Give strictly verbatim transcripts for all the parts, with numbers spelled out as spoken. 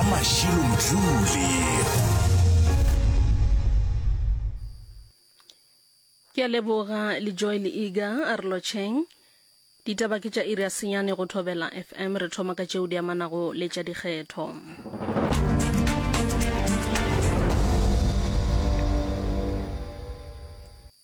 Mashilo Mdluli. Ke a leboga le Joy le Iga a re lotšheng. Ditaba ke tša iri ya senyane go Thobela F M, re thoma ka tšeo di amanago le tša dikgetho.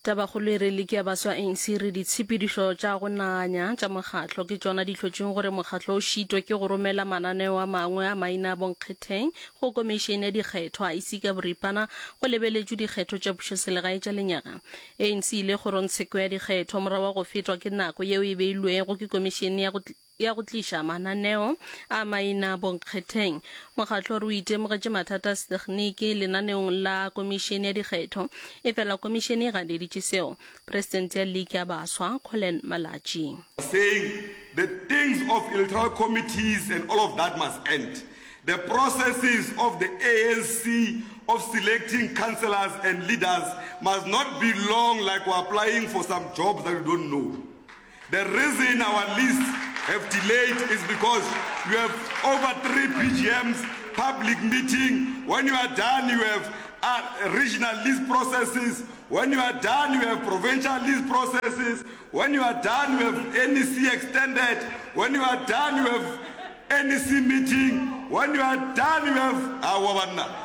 Tabakgolo e re liki ya baswa A N C e re ditshepedišo tša go nanya tša mokgatlo ke tšona di hlotšeng gore mokgatlo o šitwe ke go romela mananeo a mangwe a maina a bonkgetheng go komišene ya dikgetho I E C ka boripana go lebeletšwe dikgetho tša pušoselegae tša lenyaga. A N C e ile kgorongtsheko ya dikgetho morago ga go fetwa ke nako yeo e beilwego ke komišene ya go ya go tliša mananeo a maina bonkgetheng. Mokgatlo o re o itemogetše mathata a setegniki lenaneong la komišene ya dikgetho, efela komišene e ganeditše seo. Presidente ya Liki ya Baswa, Collen Malatji. Saying the things of electoral committees and all of that must end. The processes of the A N C of selecting councillors and leaders must not be long like we're applying for some jobs that we don't know. The reason our lists have delayed is because you have over three P G Ms, public meeting. When you are done, you have uh, regional list processes. When you are done, you have provincial list processes. When you are done, you have N E C extended. When you are done, you have N E C meeting. When you are done, you have our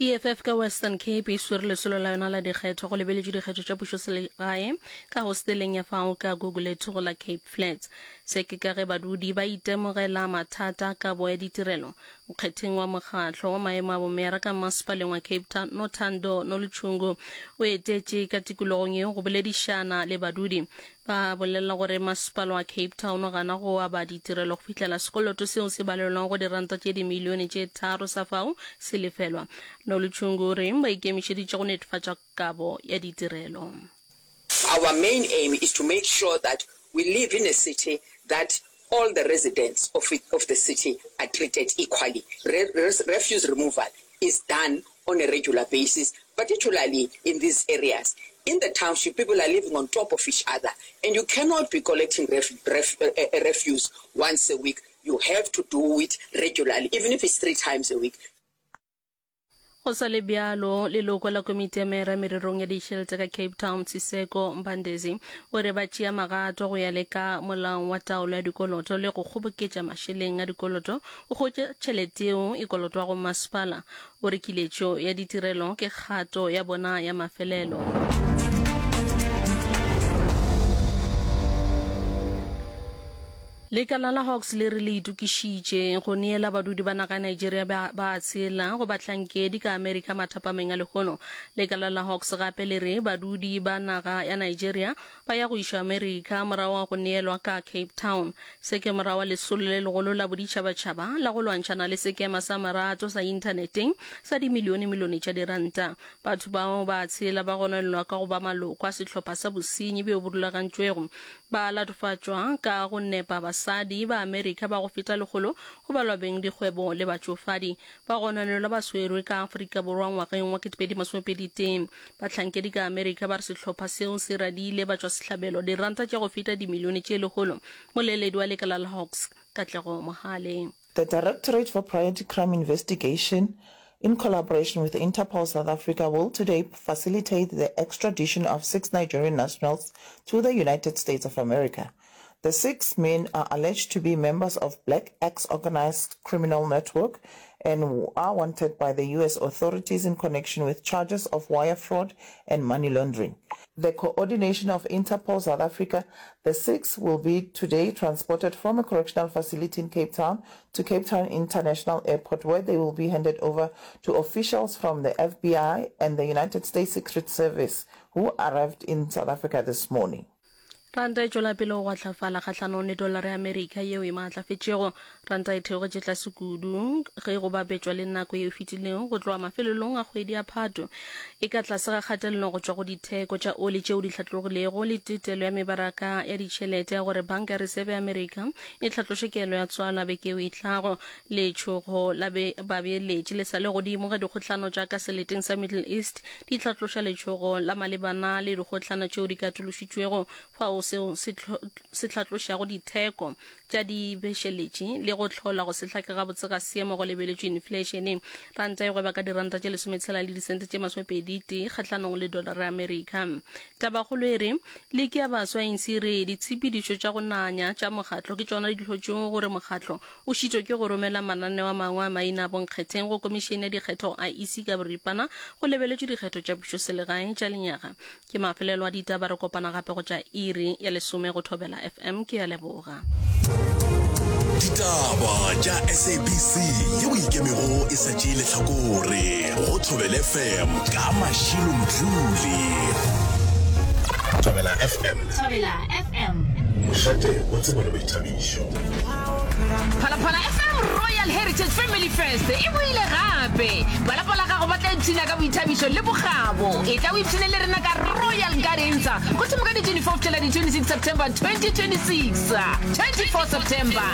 E F F ka Western Cape e swere lesolo la yona la dikgetho go lebeletšwe dikgetho tša pušoselegae ka hosteleng ya fao ka Gugulethu go la Cape Flats. Se ke ka ge badudi ba itemogela mathata a kabo ya ditirelo. Nkgetheng wa mokgatlo wa maemo a bomeyara ka masepaleng wa Cape Town, Nothando Nolutshungu, o etetše ka tikologong yeo go boledišana le badudi. Ba bolela gore masepala wa Cape Town o gana go aba ditirelo go fihlela sekoloto seo se balelwang go diranta tše dimilione tše tharo sa fao se lefelwa. Nolutshungu o re ba ikemišeditše go netefatša kabo ya ditirelo. Our main aim is to make sure that we live in a city that all the residents of, it, of the city are treated equally. Re, res, refuse removal is done on a regular basis, particularly in these areas. In the township, people are living on top of each other, and you cannot be collecting ref, ref, uh, uh, refuse once a week. You have to do it regularly, even if it's three times a week. Go sa le bjalo, leloko la komiti ya meyara mererong ya ditšhelete ka Cape Town, Siseko Mbandezi, o re ba tšea magato go ya le ka molao wa taolo ya dikoloto le go kgoboketša mašeleng a dikoloto go hwetša tšhelete yeo e kolotwago masepala. O re kiletšo ya ditirelo ke kgato ya bona ya mafelelo. Lekala la Hawks le re le itokišitše go neela badudi ba naga ya Nigeria ba ba tshela go bahlankedi ka Amerika mathapameng a lehono. Lekala la Hawks gape le re badudi ba naga ya Nigeria ba ya go išwa Amerika morago ga go neelwa ka Cape Town. Se ke morago ga lesolo le legolo la boditšhabatšhaba la go lwantšhana le sekema sa marato sa inthaneteng sa dimilionemilione tša diranta. Batho bao ba tshela ba gononelwa ka go ba maloko a sehlopha sa bosenyi bjo bo rulagantšwego. Ba latofatšwa ka go nepa basadi ba Amerika ba go feta lekgolo go balwa beng dikgwebo le batšofadi. Ba gononelwa ba swerwe ka Afrika Borwa ngwageng wa kete pedi masomepedi tee. Bahlankedi ka Amerika ba re sehlopha seo se radile batšwasehlabelo diranta tša go feta dimilione tše lekgolo. Moleledi wa lekala la Hawks, Katlego Mohale. The Directorate for Priority Crime Investigation, in collaboration with Interpol South Africa, will today facilitate the extradition of six Nigerian nationals to the United States of America. The six men are alleged to be members of Black Axe Organized Criminal Network and are wanted by the U S authorities in connection with charges of wire fraud and money laundering. The coordination of Interpol South Africa, the six will be today transported from a correctional facility in Cape Town to Cape Town International Airport, where they will be handed over to officials from the F B I and the United States Secret Service who arrived in South Africa this morning. Ranta e tšwela pele go gwahlafala kgahlanong le dolara ya Amerika yeo e maatlafetšego. Ranta e theogetše tlase kudu ge go bapetšwa le nako yeo e fetilego go tloga mafelelong a kgwedi ya Phato. E ka tlase ga kgatelelo go tšwa go ditheko tša oli tšeo di hlatlogilego le tetelo ya mebaraka ya ditšhelete ya gore Banka ya Resebe ya Amerika e hlatloše kelo ya tswala beke yeo e tlago. Letšhogo la babeeletši le sa le godimo ge dikgohlano tša ka seleteng sa Middle East di hlatloša letšhogo la malebana le dikgohlano tšeo di katološitšwego fao. seo seo se se hlatlošago ditheko tša dibešeletši le go hlola go se hlake gabotse ga seemo go lebeletšwe infleišene. Ranta e gweba ka diranta tše lesometshela le disente tše masomepedi tee kgahlanong le dolara ya Amerika. Tabakgolo e re, Liki ya Baswa e ntshi re ditshepedišo tša go nanya tša mokgatlo ke tšona di hlotšego gore mokgatlo o šitwe ke go romela mananeo a mangwe a maina a bonkgetheng go Komišene ya Dikgetho, I E C, ka boripana go lebeletšwe dikgetho tša pušoselegae tša lenyaga. Ke mafelelo a ditaba, re kopana gape go tša iri ya lesome go Thobela F M. Ke a leboga. Ditaba tša S A B C yeo e ikemego e sa tšee lehlakore go Thobela F M ka Mashilo Mdluli. Thobela F M. Thobela F M. Mošate wa tsebo le boithabišo. Phalaphala F M Royal Heritage Family Fest e boile gape! Ba lapa la gago ba tla ipshina ka boithabišo le bokgabo. Etla o ipshine le rena ka Royal Gardens go thoma ka di twenty-four go fihlela di twenty-six September twenty twenty-six. twenty-four September.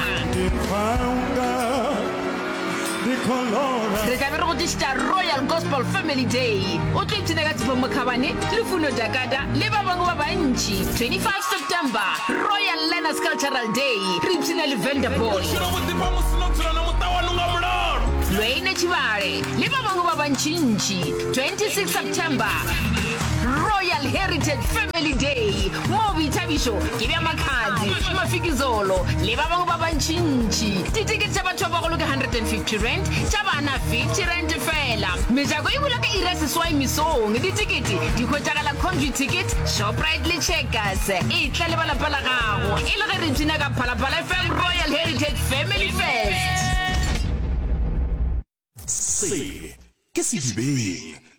Re tla be re go tlišetša Royal Gospel Family Day. O tlo ipshina ka Tshepo Mokhabane, Lufuno Dakada le ba bangwe ba bantši. twenty-five September, Royal Learners Cultural Day. Re ipshina le Vanderboy, Lwayne Tshibale le ba bangwe ba bantšintši. twenty-six September, Royal Heritage Family Day, moo boithabišo ke bja Makhadzi, Mafikizolo le ba bangwe ba bantšintši. Ditekete tša batho ba bagolo ke hundred and fifty rand, tša bana fifty rand fela. Mejako e bulwa ka iri ya seswai mesong. Ditekete di hwetšagala Computicket, Shoprite le Checkers. Etla le ba lapa la gago e le ge re ipshina ka Phalaphala F M Royal Heritage Family Fest. Se ke Sedibeng.